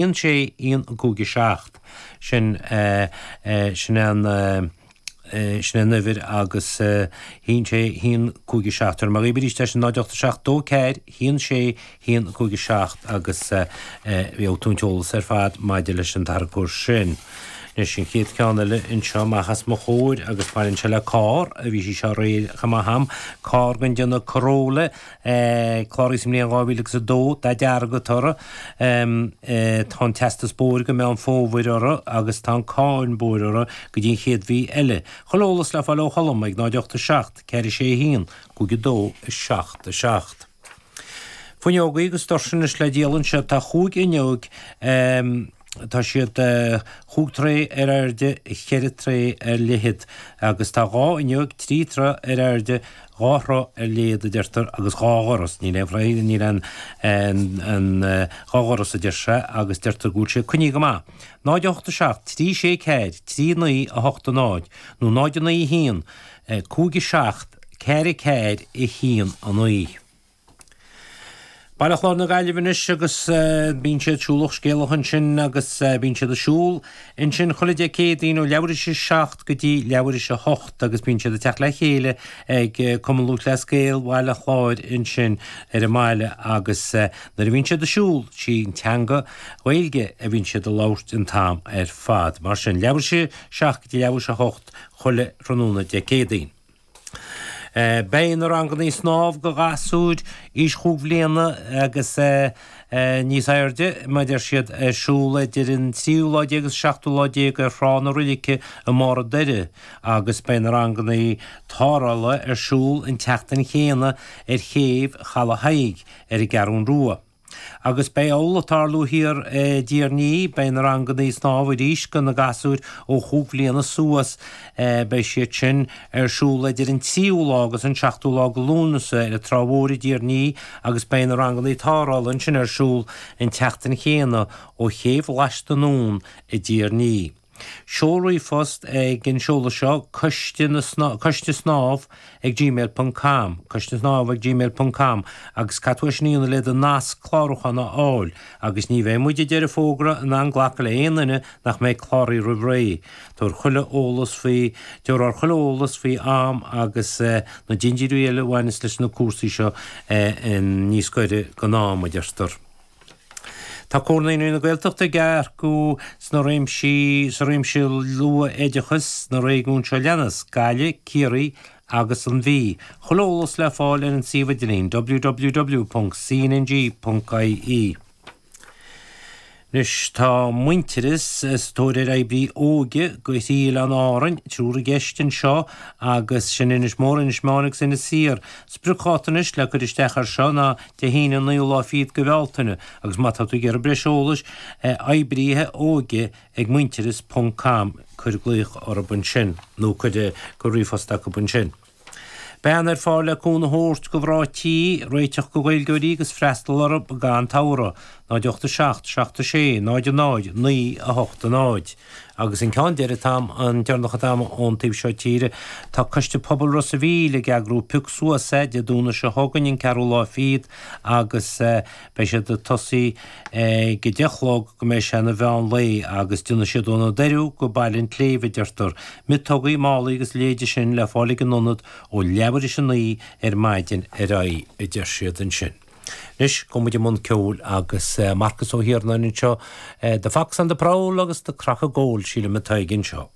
1 6 1 5 7. Sin sin an sin an uimhir agus 1 6 1 5 7. Tabharfaidh mé dhaoibh arís é sin 0 8 7 2 4 1 6 1 5 7 agus gheobhaidh tú an t-eolas ar fad maidir leis an tarracóir sin. Anois an chéad cheann eile anseo amach os mo chomhair agus baineann sé le carr a bhí sí seo aréir chomh maith a'm, carr den déanamh Corolla Cláraithe sa mbliain 2002, dath dearg atá uirthi. Tá an teastas bóthair go Meán Fómhair uirthi agus tá an cáin bóthair uirthi go dtí an chéad mhí eile. Chuile eolas le fáil ó Cholm ag 0 8 7 4 6 1 5 2 7 7. Fuinneogaí agus doirse anois le díol anseo. Tá chúig fhuinneog. Tá siad chúig troigh ar airde, cheithre troigh ar leithead, agus tá dhá fhuinneog, trí troigh ar airde, dhá throigh ar leithead, a deirtear, agus dhá dhoras. Níl aon throigh, níl aon, aon, dhá dhoras, a deir sé, agus deirtear go bhfuil sé coinnithe go maith. 0 8 7 3 6 4 3 9 8 0 nó 0 9 1 5 7 4 4 1 9. Baile Chláir na Gaillimhe anois agus bíonn siad siúlach scéalach ansin agus bíonn siad ag siúl ansin chuile Dé Céadaoin ó leathuair théis a 7 go dtí leathuair théis a 8 agus bíonn siad ag teacht le chéile ag Cumann Lúthchleas Gael Bhaile Chláir ansin ar an mbaile agus nuair a bhíonn siad ag siúl sí an teanga Ghaeilge a bhíonn siad ag labhairt an t-am ar fad. Mar sin leathuair théis a 7 go dtí leathuair théis a 8 chuile thráthnóna Dé Céadaoin. Beidh na rangannaí snámh go ghasúir aois chúig bhliana agus níos airde, mar a deir siad, ar siúl idir an tríú lá déag agus seachtú lá déag ar Thrá na Roilice i mBarr an Doire agus beidh na rangannaí tarrthála ar siúl an tseachtain chéanna ar chéibh Chaladh Thaidhg ar an gCeathrún Rua. Agus beidh amhlaidh ag tarlú thiar i dTír an Fhia, beidh na rangannaí snámha arís go na gasúir ó chúig bhliana suas, beidh siad sin ar siúl idir an tríú lá agus an seachtú lá go Lúnasa ar an Trá Mhór i dTír an Fhia agus beidh na rangannaí tarrthála ansin ar siúl an tseachtain chéanna ó chéibh Lais anonn i dTír an Fhia. Seol ríomhphost ag an seoladh seo, coiste na coiste snámh ag gmail ponc com, coiste snámh ag gmail ponc com, agus caithfidh tú é sin a dhéanamh le do nasc clárúcháin a fháil, agus ní bheidh muid ag deireadh fógra in ann glacadh le haon duine nach mbeidh cláraithe roimh ré. Tabhair chuile eolas faoi, tabharfar chuile eolas faoi am agus na dintiúirí eile a bhaineas leis na cúrsaí seo níos gaire don am, a deirtear. Tá Comhar Naíonraí na Gaeltachta ag earcú sna réimsí sa réimse luath-oideachais sna réigiúin seo leanas, Gaillimh, Ciarraí agus an Mhí. Chuile eolas le fáil ar an suíomh idirlín www.cnng.ie. Anois tá Muintearas sa tóir ar oibrí óige go thrí oileán Árainn, triúr i gceist anseo agus sin Inis Mór, Inis Meáin agus Inis Oírr. Spriocdháta anois le cur isteach air seo ná Dé hAoine an naoú lá fichead go Bhealtaine agus má tá tú ag iarraidh breis eolais, oibrithe óige ag muintearas ponc com, cuir glaoch orthu ansin nó cuir ríomhphost acu ansin. Bean ar fáil le cúnamh a thabhairt go mhná tí, réiteach go Gaeilgeoirí agus freastal orthu gan togha. 0 8 7 7 6 0 0 9 8 0. Agus an ceann deiridh atá a'm, an deireanach atá a'm ón taobh seo tíre, tá Coiste Pobail Ros a' Mhíl ag eagrú Pioc Suas É Dé Domhnaigh seo chugainn, an ceathrú lá fichead, agus beidh siad ag tosaí ag a deich a chlog go mbeidh sé ina mheán lae, agus déanfaidh siad ó na Doiriú go Baile an tSléibhe, a deirtear. Miotógaí, málaí agus a leithéide sin le fáil ag an ionad ó leathuair théis a naoi ar maidin ar aghaidh, a deir siad ansin. Anois, gabhfaidh muid i mbun ceoil agus Marcus Ó hIarnáin anseo, The Fox on the Prowl agus The Crock of Gold, sílim atá aige anseo.